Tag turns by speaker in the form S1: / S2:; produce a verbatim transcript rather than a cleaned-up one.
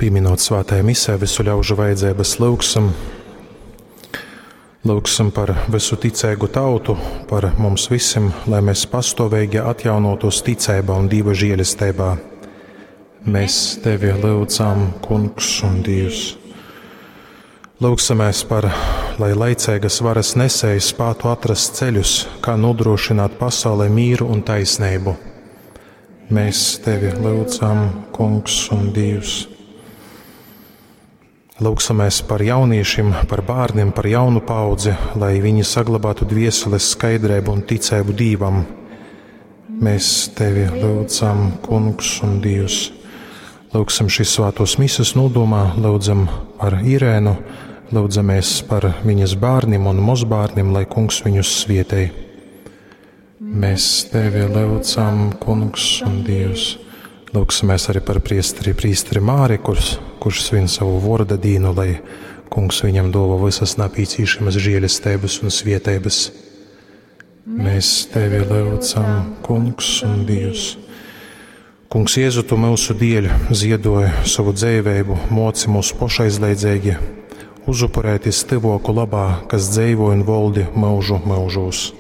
S1: Pīminot svātajā misē visu ļaužu vajadzības, lyugsim, lyugsim par visu ticeigu tautu, par mums visim, lai mēs pastoveigi atjaunotos ticeibā un Dīva žielesteibā. Mēs Tevi lyudzam, Kungs un Dievs. Lūgsimies par, lai laicīgas varas nesēji spētu atrast ceļus, kā nodrošināt pasaulē mīru un taisnību. Mēs Tevi lyudzam, Kungs un Dievs. Lūgsimies par jauniešiem, par bērniem, par jaunu paudzi, lai viņi saglabātu dvieseles skaidrību un ticību Dievam. Mēs Tevi lūdzam, Kungs un Dievs. Lūgsim šīs svētos mises nodomā, lūdzam par Irēnu, lūdzamies par viņas bērniem un mozbērniem, lai Kungs viņus svietēj. Mēs Tevi lūdzam, Kungs un Dievs. Lūgsimies arī par priesteri, priesteri Māri, kurš, kurš svin savu vorda dīnu, lai Kungs viņam dova visas napīcīšamas žēlestības un svietības. Mēs Tevi lūdzam, Kungs un Dievs. Kungs Jēzu, Tu mūsu dieļ ziedoji savu dzēvēbu, moci mūs pošaizliedzīgi, uzupurēties tyvoku labā, kas dzeivo un voldi mūžu mūžos.